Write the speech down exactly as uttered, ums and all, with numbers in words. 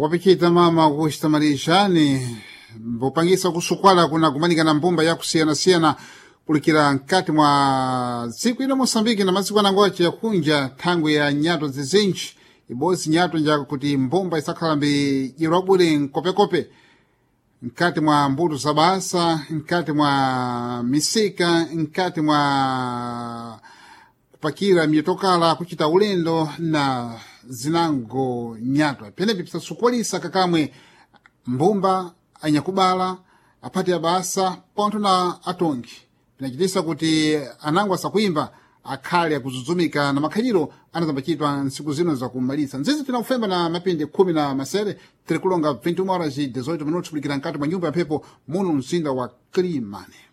Wapichita mama kuchitamalishani mbopangisa kusukwala kuna kumanika na mbumba yakusiyanasiyana kulikira mkati mwa dziko ino Moçambike na madziko anangoche yakunja thangwi ya nyato zizinji ibodzi nyato njakuti mbumba isakhala mbi irwabwire nkopekope mkati mwa mbuto za basa, mkati mwa misika, mkati mwa kupakira mitokala kuchita ulendo na zinango nyatwa penepi pisasukwalisa kakamwe mbumba anyakubala aphati abasa pontho na atongi pinachitisa kuti anango asakuimba akhale akuzuzumika na makhaliro anazambachitwa ntsiku zino zakumalitsa nzizi tinakufemba na mapindi khumi na masere tiri kulonga vinte e uma horas e dezoito minutos kulikira mkati mwa nyumba ya mphepo muno mzinda wa Climane.